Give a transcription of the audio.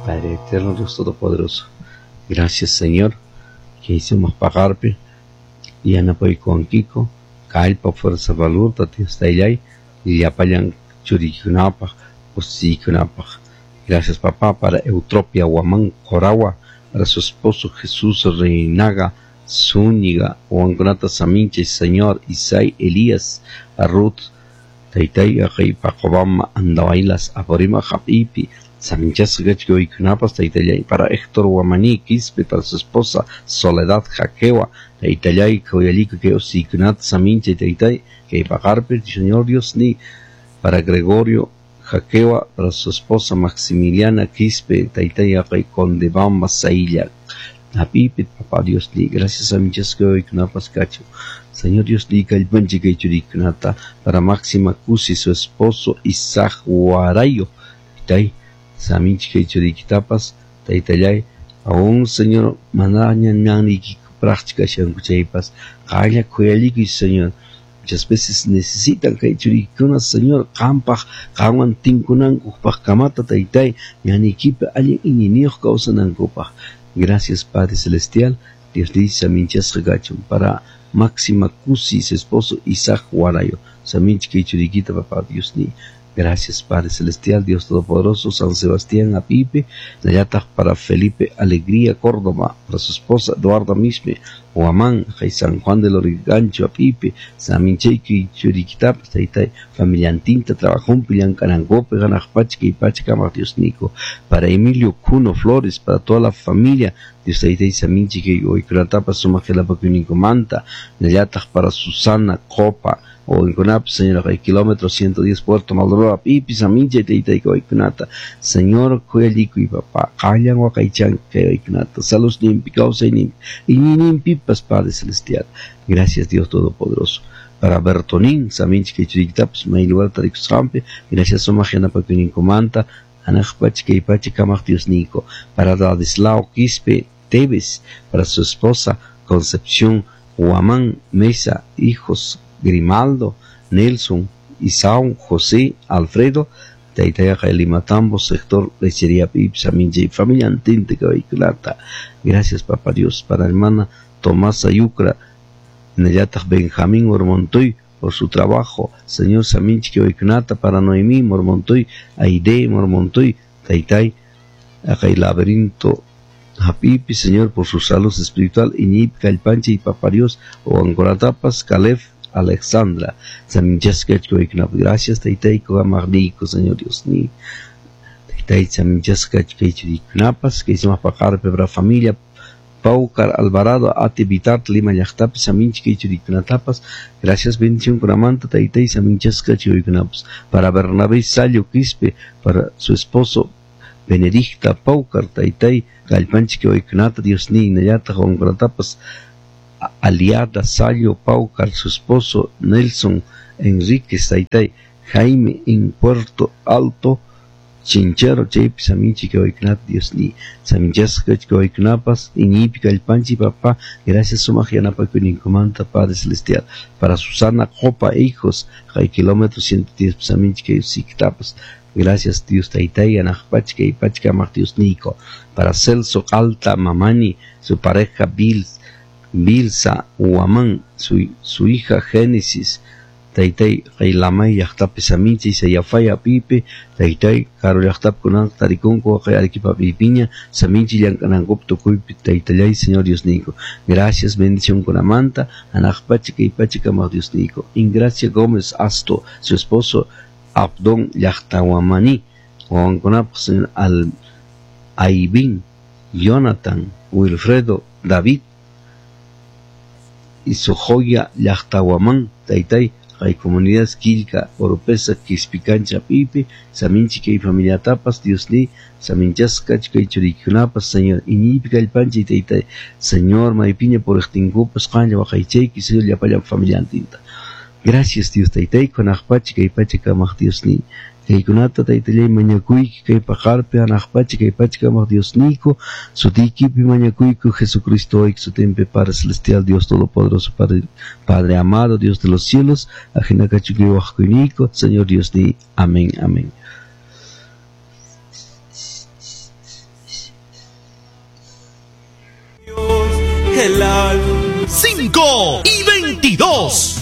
Padre eterno, Dios todopoderoso. Gracias, Señor, que hicimos pagarpe yanapaykuwankiko kallpa fuerza valor Dios tayllay llapallan churikunapaq usiykunapaq. Gracias, papá, para Eutropia Guamán Coragua, para su esposo Jesús Reinaga Zúñiga, Juan Saminche, Señor Isai Elías, a Ruth, Taytay, Aqay Paqobama, Andawailas, Aporima Japipi, Saminchasqa kachkuykunapas, Taytallay, para Héctor Guamaní Quispe, para su esposa Soledad Jaquewa, Taytallay, Koyalico, que Osikunat, Saminche, Taytay, que Pagarpe, Señor Dios ni, para Gregorio Jaquewa, para su esposa Maximiliana Quispe, Taytay, Aqay Condebamba, Sailla, Apipe, Papá Dios ni, gracias a Michasco Cacho. Señor Dios ni, Calpanche Churikunata, para Máxima Cusi, su esposo Isaac Guarayo, Taytay, Saminchike Churikitapas, Taytallay, aún Señor, manaña ñaniki práctica shankuchaypas, Qalla kuyalikuy, Señor. Muchas veces necesitan kay churikuna, Señor, qampaq, qanwan tinkunankupaq kamata, taytay, ñanikipi allin iñiniyuq kawsanankupaq. Gracias, Padre Celestial. Dios dice, Saminchasqa kachun. Para Máxima Cusi, su esposo Isaac Guarayo. Saminchike churikita, papá Dios ni. Gracias, Padre Celestial, Dios Todopoderoso, San Sebastián Apipe, Nayatag para Felipe Alegría Córdoba, para su esposa Eduardo Misme, Huamán, San Juan del Lurigancho Apipe, Samincheki Churiquitap, Taytay, Familiantinta, Trabajón, Pillancanagope, Ganajpachca y Pachca, Dios Nico, para Emilio Cuno Flores, para toda la familia, Dios Taytay, Saminchiki, Oicuratapa, Sumajelapa, Manta, Nayatag para Susana Copa, o en Conap, Señor, hay kilómetro 110 Puerto Maldonado, Pipi, Saminche, Teita y Coicunata, Señor, Coyalico y papá, Callan, Huacaychan, Coicunata, Salud Nimpi, Causa y Nimpi, y Nimpi, Padre Celestial. Gracias, Dios Todopoderoso. Para Bertonín, Saminche, Quechuriquitaps, Mailuar, Tarixampe, gracias, Somajena, Pacunicomanta, Anajpach, Keipache, Kamach, Dios Nico. Para Ladislao Quispe Tevez, para su esposa Concepción Huamán Mesa, hijos Grimaldo, Nelson, Isao, José, Alfredo, Taytayqa Limatambo, sector Lechería Pipsa, Minche y familia Antinte Cabalculata. Gracias, Papá Dios, para hermana Tomasa Yucra, Nayatag Benjamín Mormontoy, por su trabajo, Señor Saminchi Cabalculata, para Noemí Mormontoy, Aide Mormontoy, Taytay, Acá el laberinto Hapipi, Señor, por su salud espiritual, Iñip, Calpanche y Papá Dios, o Ancoratapas, Calef, Alexandra, Gracias, Taytay, Kogamarnico, Señor Dios ni. Taytay, Saminchasca, que hicimos pagar para familia, Paucar, Alvarado, Ati, Vitart, Lima, Yachtapi, Saminchike, Churikunatapas. Gracias, bendición, Kuramanta, Taytay, Saminchasca, Churikunapas. Para Bernabé Sayo Quispe, para su esposo Benedicta Paucar, Taytay, Galpanchike, Oikunata, Dios ni, Nayata, Juangratapas, Aliada Sayo Paucar, su esposo Nelson Enríquez Taytay, Jaime en Puerto Alto, Chinchero, Chaypi, Saminchi, Oikunata, Dios ni, Saminchasca, Oikunapas, Iñipi, Calpanchi, papá, gracias, Sumaj, Yanapakunincomanta, Padre Celestial, para Susana Copa, hijos, Jai kilómetro 110, Saminchi, Siktapas, gracias, Dios Taytay, Anajpachka y Pachka, Dios Nico, para Celso Alta Mamani, su pareja Bilsa Huamán, su hija Génesis, Taytay, Qaylamay, Yaqtapi Saminchi, Sayafaya Pipe, Taytay, Karo Yaqtap Kunan, Tarikunko, Arequipa Pipiña, Saminchi, Llankanankop, Tukuypi, Taytallay, Señor Dios Nico. Gracias, bendición con Amanta, Anajpachika y Pachika, Dios Nico. Ingracia Gómez Asto, su esposo Abdón Yaqtahuamani, Juan Señor Al Aibín, Jonathan, Wilfredo, David, y su joya Yaqtahuamán, Taytay, hay comunidades Quilca, Oropesa, Quispicancha, Pipe, Saminchica y familia Tapas, Dios ni, Saminchasca, Chica y Churicunapas, Señor, Iñipica, el Panchi, Taytay, Señor, Maipiña, por Extingupas, Canya, Bajaicheki, Señor, Yapaya, familia Antinta. Gracias, Dios, Taytay, con Ajpachica y Pachica, Dios ni. Kaykunata taytallay mañakuyki kay paqarpi anaqpacha kay pachakamaq Dios nico, sutiykipi mañakuyku Jesucristo hoy sutinpi Padre Celestial, Dios Todopoderoso, Padre, Padre amado, Dios de los cielos, ajinakachuki waqkuyniku, Señor Dios ni. Amén, amén. El alma. 5 y 22.